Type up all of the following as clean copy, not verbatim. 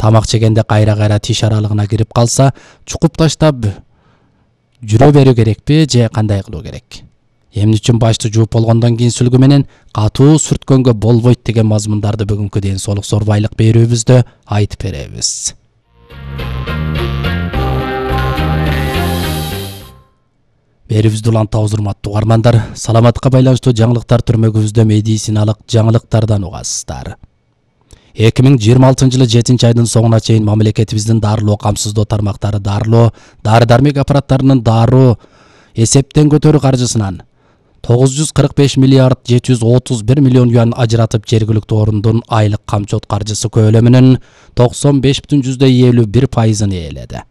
тамак жегенде кайра тиш аралыгына кирип калса, чукуп таштап жүрө берүү керекпи же кандай кылуу керек? Эмне үчүн башты жууп болгондон кийин сүлгү менен катуу сүрткөнгө болбойт деген мазмундарды бүгүнкү ден соолук сорбайлык берүүбүздө айтып беребиз. Берүүбүздү улантабыз урматтуу угармандар. Саламатка байланыштуу жаңылыктар түрмөгүбүздө медициналык жаңылыктардан угасыздар. 2026-жылы 7-айдын соңуна чейин мамлекетибиздин дарылоо камсыздоо тармактары дары-дармек аппараттарынын дароо эсептен көтөрүү каржысынан 945 миллиард 731 миллион юан ажыратып жергиликтүү орундун айлык камчот каржысы көлөмүнүн 95,51%-ын ээледи.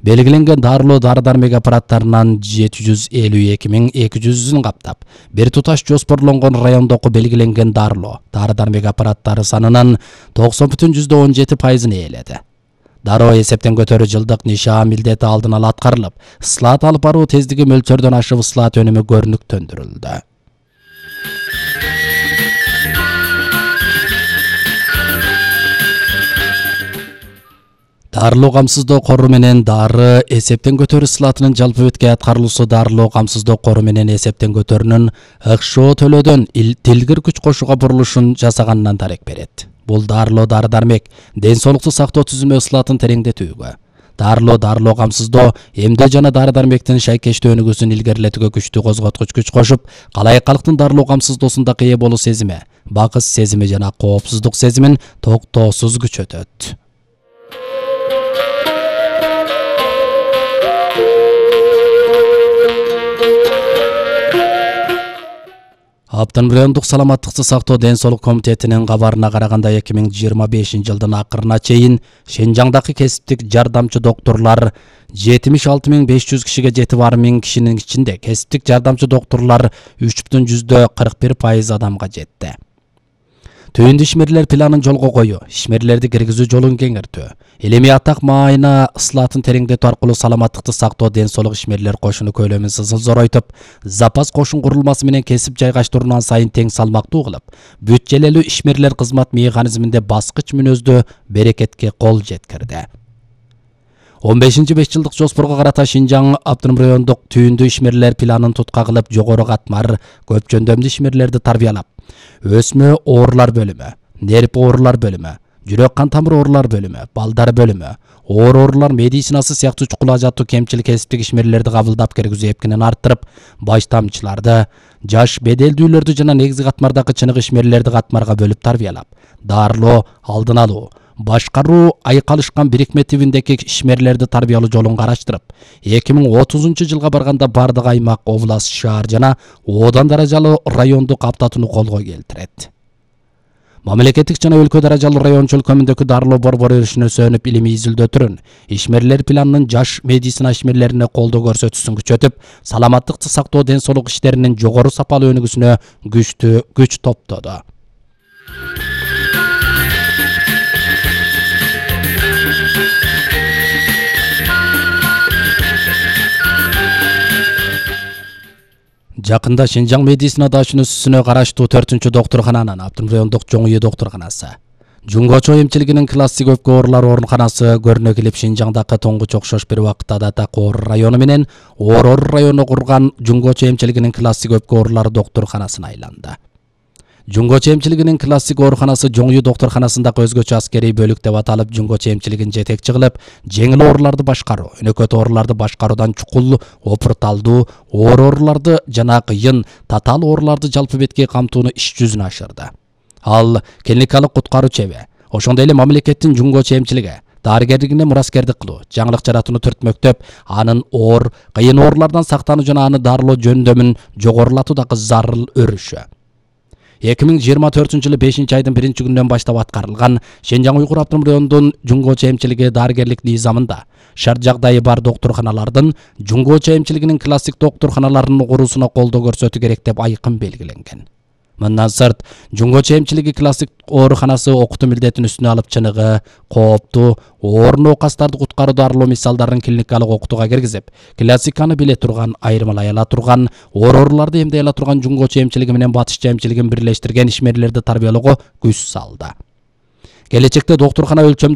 Белгиленген дарылоо дары-дармек аппараттарынан 752.200-ын каптап, бир туташ жоспорлонгон райондогу белгиленген дарылоо дары-дармек аппараттары санынан 90,17%-ын ээледи. Дароо эсептен көтөрүү жылдык нишан милдети алдын ала аткарылып, ысылат алып баруу тездиги мөлчөрдөн ашып ысылат өнүмү көрүнүктөндүрүлдү. Дарылоо камсыздоо кору менен дары эсептен көтөрүү ысылатынын жалпы бетке аткарылуусу дарылоо камсыздоо кору менен эсептен көтөрүүнүн ыкшоо төлөөдөн тилгир күч кошууга бурулушун жасаганынан дарек берет. Бул дарылоо дары-дармек ден соолукту сактоо түзүмө ысылатын тереңдетүүгө, дарылоо камсыздоо эмдөө жана дары-дармектин шайкештүү өнүгүүсүн илгерилетүүгө күчтүү козготкуч күч кошуп, калайык калктын дарылоо камсыздоосунда ээ болуу сезими, бакыт сезими жана коопсуздук сезимин токтоосуз күчөтөт. Аптын райондук саламаттыкты сактоо ден соолук комитетинин кабарына караганда 2025-жылдын акырына чейин Шенжаңдагы кесиптик жардамчы доктурлар 76.500 кишиге жетип, 1000 кишинин ичинде кесиптик жардамчы доктурлар 3,41% адамга жетти. Түйүндү ишмерлер планын жолго коюу, ишмерлерди киргизүү жолун кеңиртүү, элеми атак маайына ысылатын тереңдетүү аркылуу саламаттыкты сактоо ден соолук ишмерлер кошуну көлөмүн зоройтуп, запас кошун курулмасы менен кесип жайгаштыруудан сайын тең салмактуу кылып, бүт-желелүү ишмерлер кызмат механизминде баскыч мүнөздүү берекетке кол жеткирди. 15-5 жылдык жоспорго карата Шинжаң Аптырым райондук түйүндү ишмерлер планын тутка кылып, жогору катмар көп жөндөмдүү ишмерлерди тарбиялап, өсмө оорулар бөлүмү, нерв оорулар бөлүмү, жүрөк кан тамыр оорулар бөлүмү, балдар бөлүмү, оорулар медицинасы сыяктуу чукул ажаттуу кемчил кесиптик ишмерлерди кабылдап киргизүү эпкинин арттырып, баш тамчыларды, жаш беделдүүлөрдү жана негизги катмардагы чыныгы ишмерлерди катмарга бөлүп тарбиялап, дарылоо, алдын алуу, башкаруу айкалышкан бирикме тибиндеги ишмерлерди тарбиялоо жолун караштырып, 2030-жылга барганда бардык аймак, область, шаар жана одан даражалуу райондук аптатууну колго келтирет. Мамлекеттик жана өлкө даражалуу район чөлкөмүндөгү дарылоо борбору өрүшүнө илимий изилдөө түрүн ишмерлер планынын жаш медицина ишмерлерине колдоо көрсөтүүсүн күчөтүп, саламаттыкты сактоо ден соолук иштеринин жогору сапалуу өнүгүүсүнө күч топтоду. Жакында Шинжаң медицина дашүнүсүнө караштуу 4-доктуркананын Аптырым райондук Жоң үй доктурканасы, Жунгочо эмчилигинин классик өпкө оорулары ооруканасы көрүнө келип, Шинжаңдагы тоңгуч окшош бир убакытта да Такоор району менен Орор району курган Жунгочо эмчилигинин классик өпкө оорулары доктурканасына айланды. Жунгочо эмчилигинин классик ооруканасы Жоң үй доктурканасындагы өзгөчө аскерий бөлүк деп аталып, Жунгочо эмчилигин жетекчи кылып, жеңил ооруларды башкаруу, өнөкөт ооруларды башкаруудан чукул, опурталдуу ооруларды жана кыйын, татаал ооруларды жалпы бетке камтууну иш жүзүнө ашырды. Ал клиникалык куткаруу чеби, ошондой эле мамлекеттин Жунгочо эмчилиги дарыгерлигине мураскердик кылуу, жаңылык жаратууну түртмөктөп, анын кыйын оорулардан сактануу жана аны дарылоо жөндөмүн жогорулатуудагы зарыл өрүшү. 2024-жылы 5-айдын 1-күнүнөн баштап аткарылган Шенжаң Уйгур Аптырым районунун Жунгочо эмчилиги дарыгерлик низамында шарт жагдайы бар доктурканалардын Жунгочо эмчилигинин классик доктурканаларынын куруусуна колдоо көрсөтүү керек деп айкын белгиленген. Мындан сырт, Жунгочо эмчилиги классик ооруканасы окутуу милдетин үстүнө алып, чыныгы, кооптуу, оор оокастарды куткаруу дарылоо мисалдарын клиникалык окутууга киргизип, классиканы биле турган, айырмалай ала турган, ооруларды эмдей ала турган Жунгочо эмчилиги менен Батышча эмчилигин бирлештирген ишмерлерди тарбиялоого күч салды. Келечекте доктуркана өлчөмдүү